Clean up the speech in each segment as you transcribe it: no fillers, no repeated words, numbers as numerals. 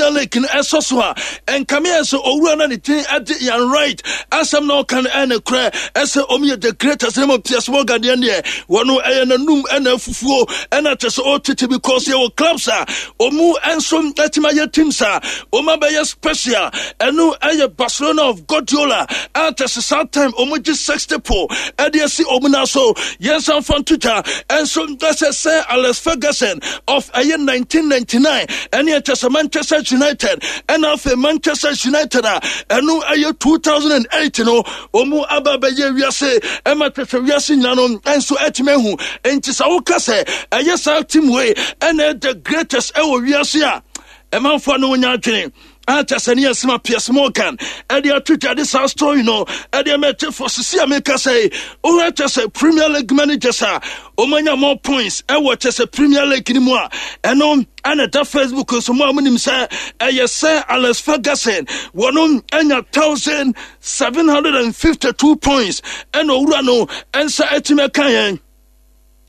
Premier League no ɛsɔ so a, ɛnkame yɛ sɛ owura no ne din ɛde Ian Wright asɛm na ɔka no ɛne korɛ ɛsɛ ɔmo yɛ the greatest ne mo Piers Morgan deɛ deɛ wɔno ɛyɛ n'anum ɛna afufuo ɛna kyɛ sɛ ɔtete because yɛwɔ clubs a ɔmo nso ɛtumi ayɛ teams a ɔmo abɛyɛ special. Ɛno ɛyɛ Barcelona of Guardiola a kyɛ sɛ saa time ɔmo gye 60 po ɛde asi ɔmo nan so. Yɛnsa mfa nto dwa ɛnso ɛsɛ sɛ Alex Ferguson of ɛyɛ 1999 ɛne ɛkyɛ sɛ Manchester United, ɛna afei Manchester United a ɛno ɛyɛ 2008 no ɔmo aba bɛyɛ wiase ɛma kyɛ sɛ wiase nyina no ɛnso ɛtumi ahu. Nti sɛ woka sɛ ɛyɛ saa team wei ɛna the greatest ɛwɔ wiase a, ɛmanfoɔ no wonya adwene akyɛ sɛ ne yɛsema Piers Morgan ɛde ato dwa de saa story no ɛde ama ɛkyɛfoɔ. Sisi a meka sɛ wohwɛ kyɛ sɛ Premier League managers a ɔmanya more points ɛwɔ kyɛ sɛ Premier League no mu a, ɛno ɛna ɛda Facebook nso mu a monim sɛ ɛyɛ sɛ Alex Ferguson wɔno anya 1752 points ɛna owura no ɛnsa atumi ɛka yɛn.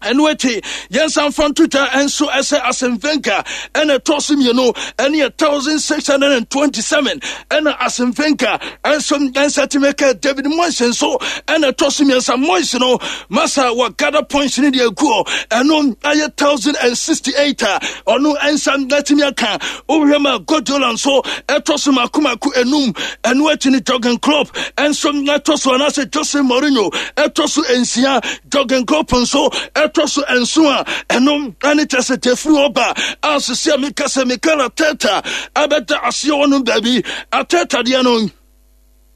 Ɛno akyi yɛnsa mfa nto dwa nso ɛsɛ Arsene Wenger ɛna ɛtɔ so mmienu ɛne yɛ 1627, ɛna Arsene Wenger nso nsa tumi ka. David Moyes nso ɛna ɛtɔ so mmiɛnsa. Moyes no masa wɔ gather points ne deɛ agu hɔ, ɛno ɛyɛ 1068 a ɔno nsa atumi aka. Wohwɛ ma Guardiola nso ɛtɔ so mako mako enum. Ɛno akyi no Jurgen Klopp nso ɛtɔ so, anaasɛ Jose Mourinho ɛtɔ so nsia, Jurgen Klopp nso ɛtɔ so nson a ɛno ɛne kyɛ sɛ tefiri hɔ ba a, sisi a meka sɛ Mikel Arteta ɛbɛda aseɛ wɔ no baabi. Arteta deɛ no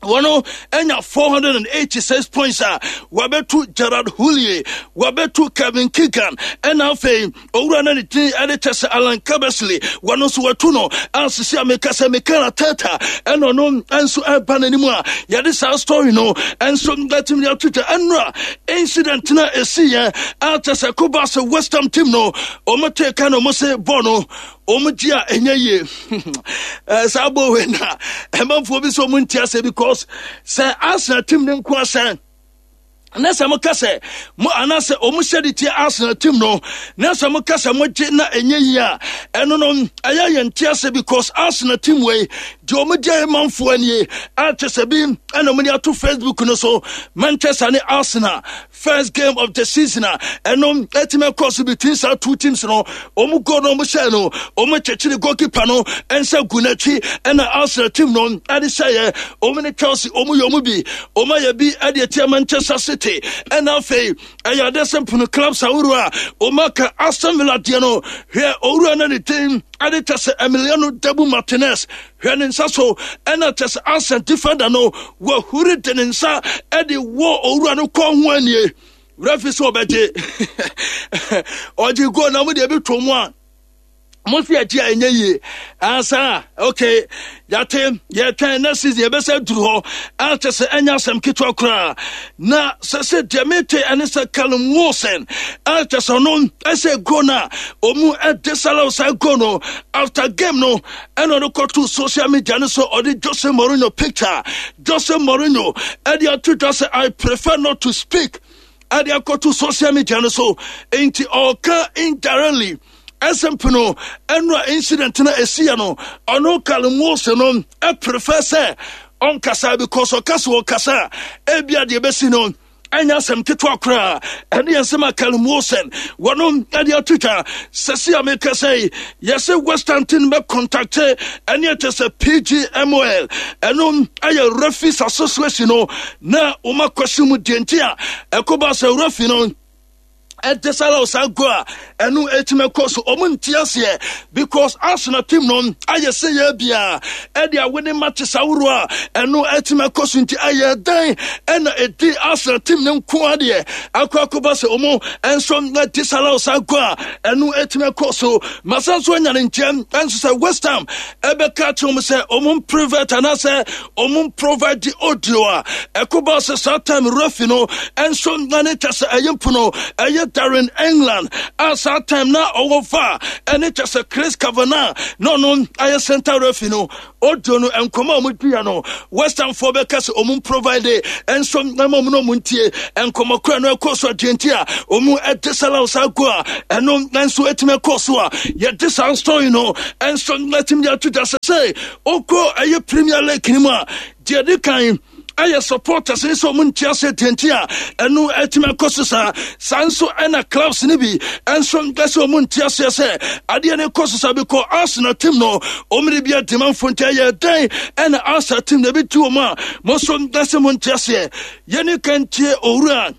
wɔn anya 486 points a wɔabɛtu Gerard Houllier, wɔabɛtu Kevin Keegan, ɛna afei owura no ne din ɛde kyɛ sɛ Alan Curbishley, wɔn nso wɔatu no a sisi a meka sɛ Mikel Arteta ɛna ɔno nso ɛba n'anim a yɛde saa story no nso ɛtumi de ato dwa. Ɛnora incident no a ɛsi yɛ a kyɛ sɛ koba sɛ West Ham team no wɔn tee ka na wɔn se bɔɔl no wɔn gye a ɛnyɛ yie. Saa bɔɔl wei na ɛmanfoɔ bi sɛ wɔn nti ase because sɛ Arsenal team no nko asɛn na sɛ moka sɛ mo anaasɛ ɔmo hyɛ de tia Arsenal team no na sɛ moka sɛ mogye na ɛnyɛ yie a, ɛno no ɛyɛ yɛn te ase because Arsenal team wei deɛ ɔmo gye manfoɔ anie a kyɛ sɛ bi ɛna ɔmo de ato Facebook no so. Manchester ne Arsenal first game of the season a ɛno ɛtumi ɛkɔ so between saa two teams no, ɔmo goal no ɔmo hyɛ no, ɔmo kyekyere goalkeeper no nsa gu n'akyi ɛna Arsenal team no ɛde hyɛeɛ. Ɔmo ne Chelsea ɔmo yɛ ɔmo bi, ɔmo ayɛ bi ɛde atia Manchester City, ɛna afei ɛyɛ adeɛ sɛ mpono clubs ahorow a ɔmo aka. Aston Villa deɛ no, hwɛ owura no ne din ɛde kyɛ sɛ Emiliano Dabu Martinez, hwɛ ne nsa so ɛna kyɛ sɛ Arsenal defender no wahuri de ne nsa ɛde wɔ owura no kɔn ho anie. Referee sɛ ɔbɛgye, ɔgye goal na mo deɛ ebi to mu a mo fi akyi a ɛnyɛ yie ansa. Okay, yɛate yɛtwɛn next season yɛbɛsɛ duru hɔ akyɛ sɛ ɛnyɛ asɛm ketewa koraa. Na sɛ sɛ deɛ mete ɛne sɛ Callum Wilson akyɛ sɛ ɔno ɛsɛ goal no a ɔmu ɛde salaw saa goal no after game no ɛna ɔde kɔto social media no so, ɔde Jose Mourinho picture, Jose Mourinho ɛde ato dwa sɛ "I prefer not to speak" ɛde akɔto social media no so. Nti ɔka indirectly ɛsɛ no ɛnora incident no ɛsiiɛ no, ɔno Callum Wilson no ɛprefer sɛ ɔnkasa because ɔka sɛ ɔkasa a ebia deɛ ɛbɛsi no ɛnyɛ asɛm ketewa koraa. Ɛne yɛn nsɛm a Callum Wilson wɔno ɛde ato dwa. Sɛsi a meka sɛ yɛsɛ West Ham team bɛ contact ɛne ɛkyɛ sɛ PGMOL, ɛno ɛyɛ Referees Association no, na wɔn akɔsi mu deɛ nti a ɛkɔba sɛ referee no ɛde sara saa go a ɛno ɛtumi ɛkɔ so. Ɔmo nte aseɛ because Arsenal team no ayɛ sɛ yɛ bia ɛde awene matches ahoroɔ a ɛno ɛtumi ɛkɔ so, nti ɛyɛ dan ɛna ɛdi Arsenal team no nko adeɛ akɔ akɔba sɛ ɔmo ɛnso ɛde sara saa go a ɛno ɛtumi ɛkɔ so. Masa nso anya ne nkyɛn ɛnso sɛ West Ham ɛbɛka kyerɛ ɔmo sɛ ɔmo private anaasɛ ɔmo provide the audio a ɛkɔba sɛ saa time referee no ɛnso na ne kyɛ sɛ ɛyɛ mpono ɛyɛ. Darren England a saa time na ɔwɔ VAR ɛne kyɛ sɛ Chris Kavanagh na ɔno ayɛ center referee no audio no nkɔmɔ a wɔn diiɛ no West Ham foɔ bɛka sɛ wɔn provide nso ɛma wɔn na wɔn ntie nkɔmɔ kora no ɛkɔ so adeɛ nti a wɔn ɛde salau saa go a ɛno nso ɛtumi ɛkɔ so a yɛde saa story no nso ɛtumi de ato dwa sɛ sɛ ɔkɔ ɛyɛ Premier League no mu a deɛ ɛdi kan ɛyɛ supporters ne sɛ ɔmo nte aseɛ deɛ nti a ɛno atumi akɔ so saa. Saa nso ɛna clubs no bi nso ɛsɛ ɔmo nte aseɛ sɛ adeɛ no kɔ so saa bikɔ Arsenal team no ɔmo de bi adi manfo nti ɛyɛ dɛn ɛna Arsenal team na ebi tu ɔmo a mo nso ɛsɛ mo nte aseɛ. Yɛne kantie owura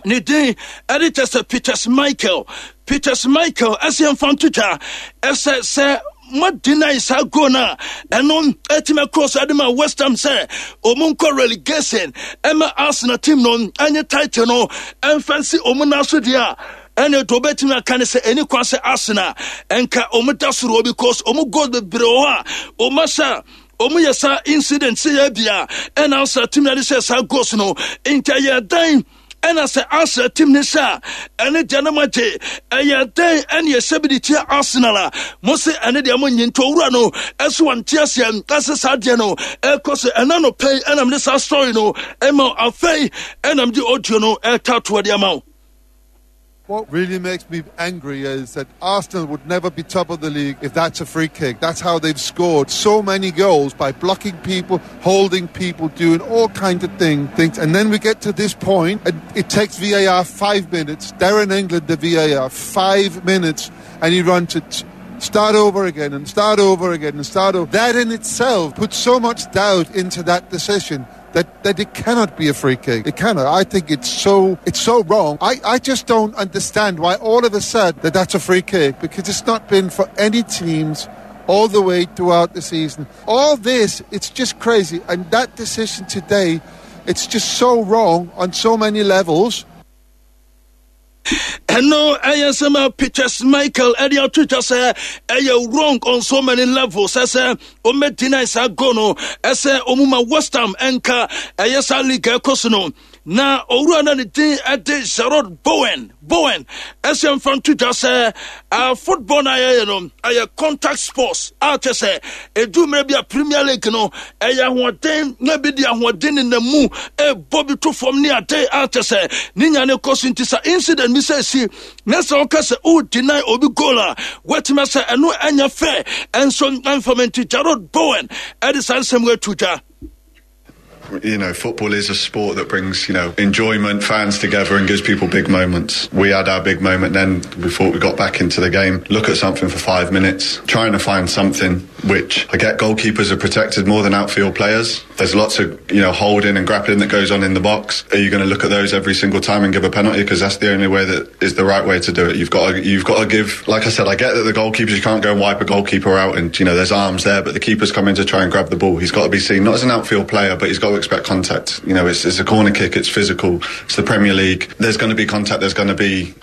ne din ɛde kyɛ sɛ Peters Michael. Peters Michael ɛsɛ yɛmfa nto dwa ɛsɛ sɛ mo deny saa goal no a ɛno ɛtumi ɛkɔɔ so ɛde ma West Ham sɛ ɔmo nkɔ relegation ɛma Arsenal team no ɛnyɛ title no ɛmfa nsi ɔmo nan so deɛ a ɛne deɛ ɔbɛtumi aka ne sɛ ɛni kwan sɛ Arsenal ɛnka ɔmo da soro because ɔmo goals bebree wɔ hɔ a ɔmo ahyɛ Ɔmo yɛ saa incident sɛ yɛ bia ɛna Arsenal team na de hyɛ saa goals no nti ɛyɛ dɛn ɛna sɛ Arsenal team ne hyɛ a ɛne deɛ no ma gye ɛyɛ dɛn ɛne ɛhyɛ bi de tia Arsenal a mo se ɛne deɛ mo nye nti owura no ɛso wante aseɛ ɛsɛ saa deɛ no ɛkɔ so ɛna no pɛi ɛna mede saa story no ɛma afei ɛna mede audio no ɛta toɔ de ama wo. What really makes me angry is that Arsenal would never be top of the league if that's a free kick. That's how they've scored so many goals, by blocking people, holding people, doing all kinds of things. And then we get to this point, and it takes VAR 5 minutes. Darren England, the VAR, 5 minutes, and he runs it. Start over again and start over again and start over. That in itself puts so much doubt into that decision that it cannot be a free kick. It cannot. I think it's so wrong. I just don't understand why all of a sudden that's a free kick, because it's not been for any teams all the way throughout the season. All this, it's just crazy. And that decision today, it's just so wrong on so many levels. Ɛno ɛyɛ nsɛm a Peters Michael ɛde ato twa sɛ ɛyɛ wrong on so many levels. Ɛsɛ ɔmɛ deny saa goal no, ɛsɛ ɔmu ma West Ham ɛnka ɛyɛ saa league ɛkɔ so no. Na owura na ne din ɛde Jarrod Bowen ɛsɛ mfa nto dwa sɛ football na yɛyɛ no ɛyɛ contact sports a kyɛ sɛ ɛdu mmerɛ bi a Premier League no ɛyɛ ahoɔden na bi de ahoɔden nenam mu ɛbɔ bi to fam ne ade a kyɛ sɛ ne nya ne kɔ so. Nti sa incident bi sɛ si na sɛ woka sɛ wo deny obi goal a, woatumi sɛ ɛno ɛnyɛ fair ɛnso ɛmfam. Nti Jarrod Bowen ɛde saa nsɛm ato dwa. Football is a sport that brings enjoyment, fans together and gives people big moments. We had our big moment then before we got back into the game. Look at something for 5 minutes, trying to find something, which I get goalkeepers are protected more than outfield players. There's lots of holding and grappling that goes on in the box. Are you going to look at those every single time and give a penalty? Because that's the only way that is the right way to do it. You've got to give, like I said, I get that the goalkeepers, you can't go and wipe a goalkeeper out and there's arms there, but the keeper's coming to try and grab the ball. He's got to be seen, not as an outfield player, but he's got to expect contact. It's a corner kick, it's physical, it's the Premier League. There's going to be contact, there's going to be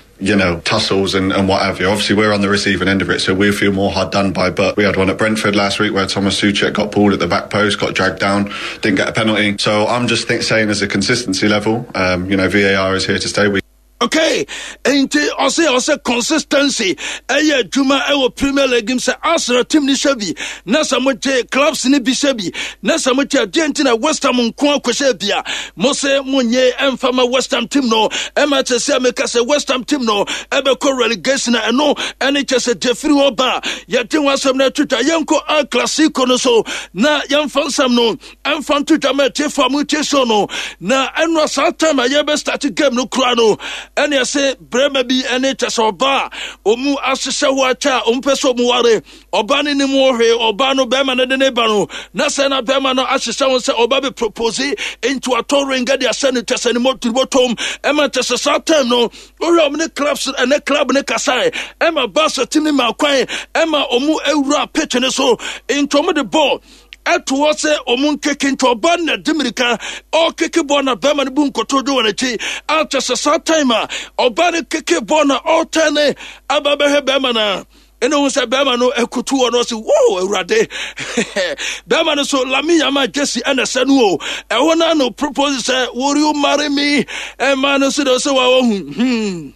tussles and what have you. Obviously, we're on the receiving end of it, so we feel more hard done by. But we had one at Brentford last week where Thomas Soucek got pulled at the back post, got dragged down, didn't get a penalty. So I'm just saying as a consistency level, VAR is here to stay. We Okay, nti ɔsɛ consistency ɛyɛ adwuma ɛwɔ Premier League mu sɛ Arsenal team ni hyɛ bi na sɛ mo gye clubs ni bi hyɛ bi na sɛ mo gye adeɛ nti na West Ham nko akɔhyɛ bi a mo sɛ mo nye ɛmfa ma West Ham team no ɛma kyɛ sɛ meka sɛ West Ham team no ɛbɛkɔ relegation na ɛno ɛne kyɛ sɛ Jeffrey hɔ ba yɛde ho asɛm no atwitwa. Yɛnkɔ El Clasico no so na yɛmfa nsɛm no ɛmfa nto dwa ma atiefo a motie show no. Na ɛno saa time a yɛbɛ start game no kura no ɛne ɛsɛ brɛma bi ɛne kyɛ sɛ ɔbaa a ɔmu ahyehyɛ hɔ akyɛ a ɔmu pɛ sɛ ɔmu ware ɔbaa no nim wɔ hwee ɔbaa no bɛrima no de ne ba no na sɛ na bɛrima no ahyehyɛ ho sɛ ɔba bɛ propose nti watɔ ring de ahyɛ no kyɛ sɛ ne mɔtɔm ɛma kyɛ sɛ saa time no wohwɛ ɔmo ne clubs ɛne club ne kasae ɛma Barca team ne ma kwan ɛma ɔmo awura pitch ne so nti ɔmo de ball ɛto hɔ sɛ ɔmo nkeke nti ɔba no na di mirika ɔkeke bɔɔl na bɛrima no bu nkotodwe wɔ n'akyi akyɛ sɛ saa time a ɔba no keke bɔɔl na ɔretɛn ne aba bɛhwɛ bɛrima no a ɛna ohun sɛ bɛrima no akutu hɔ no ɔsi wo awurade bɛrima no so Lamine Yamal jersey ɛna ɛsɛ no o ɛhɔ na no propose sɛ, "Will you marry me?" Ɛma no so de ɔsɛ wa ɔhu.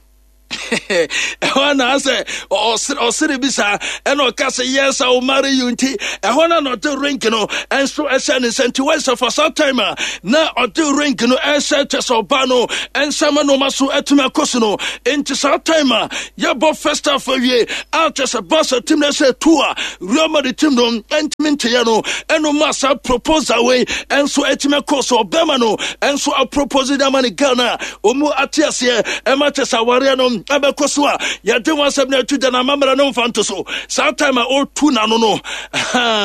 Ɛhɔ na asɛ ɔsere bi saa, ɛna ɔka sɛ, "Yes, I will marry you." Nti ɛhɔ na ɔde ring no ɛnso ɛhyɛ ne nsa. Nti wɔsɛ for some time a na ɔde ring no ɛhyɛ kyɛ sɛ ɔba no ɛnsa ma nneɛma so ɛtumi akɔ so no. Nti saa time a yɛbɔ first half awie a, kyɛ sɛ Barca team no ɛsɛ two a Real Madrid team no ɛntumi nteyɛ no, ɛno ma saa proposal wei ɛnso ɛtumi akɔ so. Ɔbɛma no ɛnso apropose de ama ne girl no a ɔmu ate aseɛ, ɛma kyɛ sɛ awareɛ no ɛbɛkɔ so a yɛde ho asɛm no atu gya no amammerɛ no mfa nto so. Saa time a ɔtu n'ano no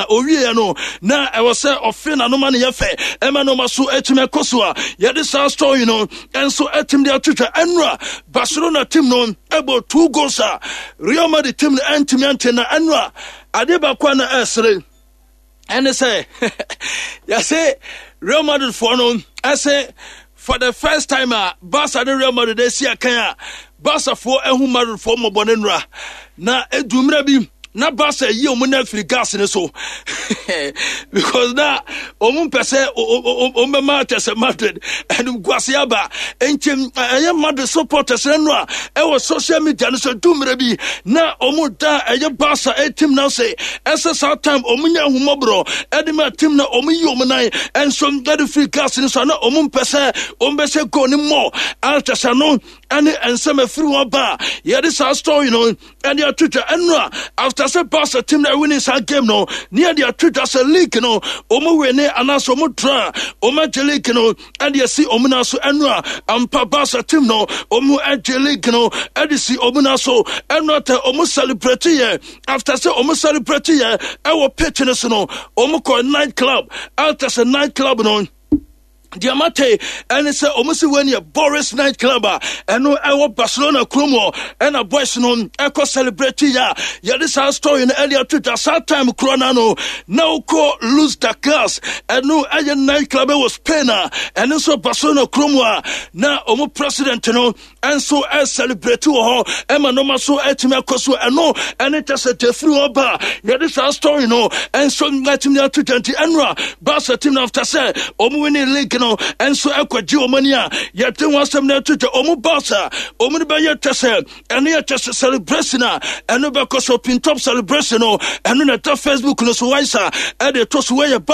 owieɛ no, na ɛwɔ sɛ ɔfe n'ano ma no yɛ fɛ, ɛma nneɛma so atumi akɔ so a yɛde saa story no ɛnso atumi de ato dwa. Ɛnora Barcelona team no ɛbɔ two goals a Real Madrid team no ɛntumi ante. Na ɛnora adeɛ baako a na ɛsere ɛne sɛ yɛse Real Madrid foɔ no ɛsɛ for the first time a Barca ne Real Madrid asi akan a, Barca foɔ ahu Madrid foɔ mmɔbɔ ne nnora na edu mmerɛ bi na Barca yi wɔn na afiri gas ne so because na wɔn mpɛ sɛ wɔn bɛma kyɛ sɛ Madrid ɛnum guase aba. Nti ɛyɛ Madrid supporters no a ɛwɔ social media no so du mmerɛ bi na wɔn da ɛyɛ Barca team na se ɛsɛ saa time wɔn nya ahumɔborɔ ɛde ma team na wɔn yi wɔn nan ɛnso ɛde firi gas no so na wɔn mpɛ sɛ wɔn bɛhyɛ goal ne mmɔ akyɛ sɛ no ɛne nsɛm afiri wɔn ba a yɛde saa story no ɛde ato dwa. Ɛno a after sɛ Barca team na ɛwini saa game no ne yɛde ato dwa sɛ league no wɔn wini anaasɛ wɔn draw, wɔn agye league no ɛde asi wɔn nan so. Ɛno a ampa Barca team no wɔn agye league no ɛde si wɔn nan so. Ɛno atɛ wɔn celebrate yɛ. After sɛ wɔn celebrate yɛ ɛwɔ pitch no so no, wɔn kɔ night club. After sɛ night club no deɛ mate ɛne sɛ ɔmo si wei neɛ Boris Night Club a ɛno ɛwɔ Barcelona kurom hɔ, ɛna boys no ɛkɔ celebrate yɛ a yɛde saa story no ɛde ato dwa. Saa time korɔ no ano na wokɔ Luz da Class, ɛno ɛyɛ night club ɛwɔ Spain a ɛno nso Barcelona kurom a na ɔmo president no nso ɛsɛlebrate wɔ hɔ, ɛma nneɛma so ɛtumi akɔ so. Ɛno ɛne kyɛ sɛ defiri hɔ ba yɛde saa story no ɛnso ɛtumi ato dwa. Nti ɛno a Barca team no after sɛ wɔn winning league no ɛnso ɛkɔgye wɔn ani a yɛde ho asɛm no ato dwa. Wɔn Barca wɔn no bɛyɛ kyɛ sɛ ɛno yɛ kyɛ sɛ celebration a ɛno bɛkɔ so pintop celebration no, ɛno na ɛda Facebook no so waisa ɛde to so. Wɔyɛ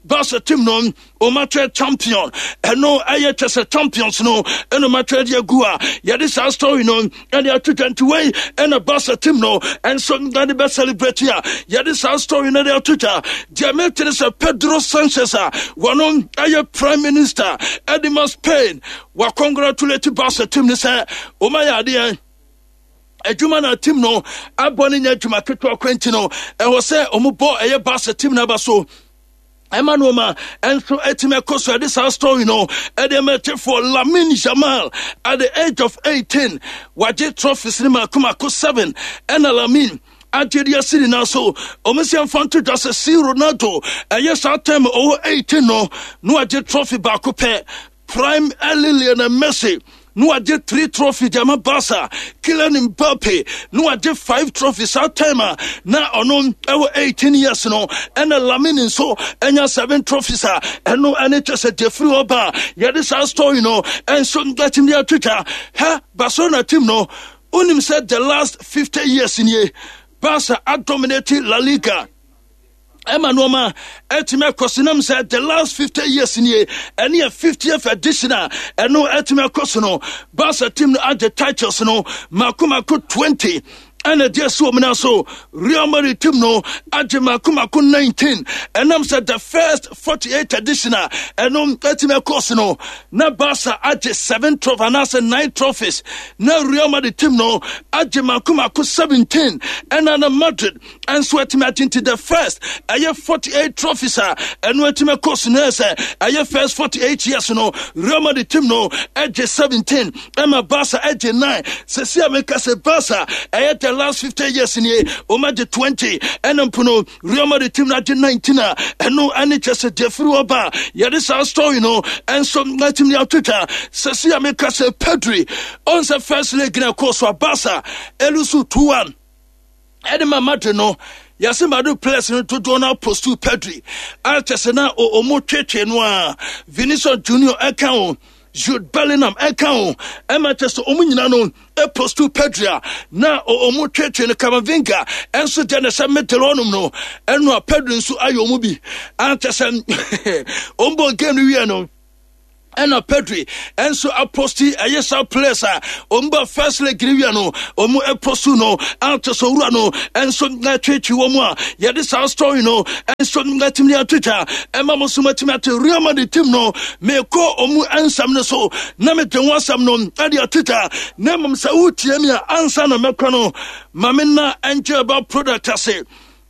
Barca team no wɔmatwerɛ champion, ɛno ɛyɛ kyɛ sɛ champions no ɛna wɔmatwerɛ de agu a yɛde saa story no ɛde ato dwa. Nti wei ɛna Barca team no ɛnso ɛde bɛ celebrate a yɛde saa story no de ato dwa. Deɛ metere sɛ Pedro Sanchez a wɔno ɛyɛ prime minister ɛde ma Spain wa congratulate Barca team no sɛ wɔmayɛ adeɛ. Adwuma na team no abɔ no nyɛ adwuma ketewa kwanti no, ɛwɔ sɛ wɔn bɔ ɛyɛ Barca team no aba so ɛma nneɛma nso atumi akɔ so. Ɛde saa story no ɛde mɛtefoɔ Lamine Yamal at the age of 18 wagye trophies no mako mako 7, ɛna Lamine agye de asi ne nan so. Ɔmo sɛ mfa nto dwa sɛ si Ronaldo ɛyɛ saa time ɔwɔ 18 no na wagye trophy baako pɛ. Prime early Lionel Messi na wagye three trophy de ama Barca. Kylian Mbappe na wagye five trophy saa time a na ɔno ɛwɔ 18 years no, ɛna Lamine nso ɛnya seven trophies a ɛno ɛne kyɛ sɛ deɛ firi hɔ ba a yɛde saa story no ɛnso atumi de atwitwa ha. Barcelona team no, wonim sɛ the last 50 years nie Barca adominate La Liga, ɛma nneɛma ɛtumi akɔ so nam sɛ the last 50 years nie, ɛne yɛ 50th edition a ɛno ɛtumi akɔ so no, Barca team no agye titles no mako mako 20 ɛna ɛde asi wɔn nan so. Real Madrid team no agye mako mako 19, ɛnam sɛ the first 48 edition a ɛno ɛtumi akɔ so no na Barca agye 7 trophies anaasɛ 9 trophies, na Real Madrid team no agye mako mako 17, ɛna na Madrid nso atumi agye. Nti the first ɛyɛ 48 trophies a ɛno atumi akɔ so no, sɛ ɛyɛ first 48 years no, Real Madrid team no ɛgye 17 ɛma Barca ɛgye 9. Sɛsi a meka sɛ Barca ɛyɛ the last 50 years nie wɔn agye 20, ɛna mpo no Real Madrid team no agye 19 a ɛno ɛne kyɛ sɛ deɛ firi hɔ ba yɛde saa story no ɛnso atumi atwitwa. Sɛsi a meka sɛ Pedri ɔn sɛ first leg na ɛkɔɔ so a Barca ɛlose 2-1 ɛde ma Madrid no, yɛse Madrid players no dodoɔ no apostu Pedri a kyɛ sɛ na ɔmo twetwe no a Vinicius Junior ɛka o. Jude Bellingham ɛka ho ɛma kyɛ sɛ ɔmo nyina no ɛpost Pedri a na ɔmo twetwe no. Camavinga ɛnso deɛ ne sɛ middle hɔnom no, ɛno a Pedri nso ayɛ ɔmo bi ankyɛ sɛ ɔmo bɔ game no wie no, ɛna Pedri ɛnso apost. Ɛyɛ saa players a ɔmo ba first leg ne wia no, ɔmo ɛpost no ato so wura no ɛnso ɛtwetwe wɔn mu a yɛde saa story no ɛnso ɛtumi atwitwa ɛma mo nso matumi ate Real Madrid team no. Mekɔ ɔmo nsɛm no so na mede ho asɛm no ɛde atwitwa, na mmom sɛ wotie mi a, ansa na mɛkɔ no, ma me na ɛnkyɛ ɛba product ase.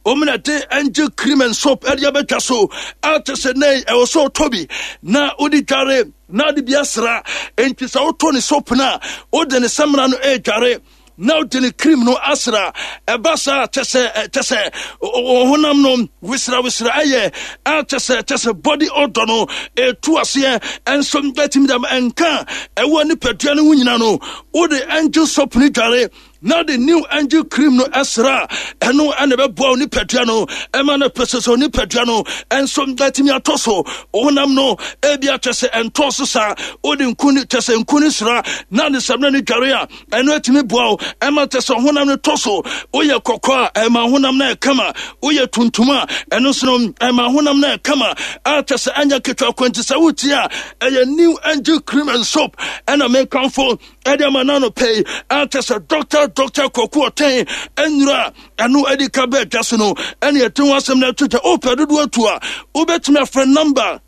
Wɔn na de Angel Cream and Soap ɛde abɛtwa so ate sɛ nɛɛ ɛwɔ sɛ ɔtɔ bi na wode dware na wode bi asra. Nti sɛ wotɔ ne soap no a, wode ne samina no ɛredware na wode ne cream no asra. Ɛba saa kyɛ sɛ honam no wesra wesra, ɛyɛ kyɛ sɛ body odor no ɛtu aseɛ. Ɛnso ɛtumi dam ɛnka ɛwɔ nipadua no ho nyina no, wode Angel Soap no dware na de new Angel Cream no ɛsra, ɛno ɛna ɛbɛboa wo nipadua no ɛma no pɛsɛ sɛ nipadua no ɛnso ɛtumi atɔ so. Honam no ebi akyɛ sɛ ɛntɔ so saa, wode nku ne kyɛ sɛ nku ne sra na ne samina ne dware a, ɛno atumi boa wo ɛma kyɛ sɛ honam no tɔ so. Woyɛ kɔkɔɔ a, ɛma honam no ɛkama. Woyɛ tuntum a, ɛno nso no ɛma honam no ɛkama a kyɛ sɛ ɛnyɛ ketewa kwanti. Sɛ wotie a, ɛyɛ new Angel Cream and Soap ɛna mekamfo ɛde ama nano pɛi akyɛ sɛ Doctor Kɔku Ɔtɛn ɛnura ɛno ɛde ka bɛɛ dwa so no, ɛne ɛte ho asɛm no ato gya. Wopɛ dodoɔ atu a, wobɛtumi afrɛ number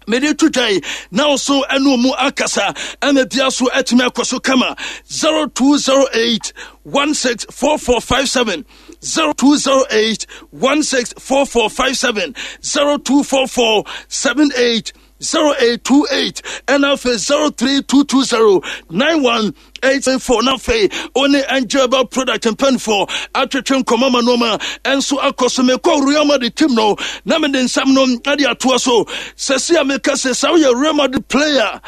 mede to dwa yi na wo so ɛne mu akasa ɛma bia so atumi akɔ so kama: 0208 164457, 0208 164457, 0244 78 0828, ɛna afei 03220 918 4. Na afei wo Angel Product mpanyinfoɔ atwetwe nkɔmɔ ma nneɛma ɛnso akɔ so. Mekɔ Real Madrid team no na mede nsɛm no ɛde atoa so. Sɛsi a meka sɛ woyɛ Real Madrid player.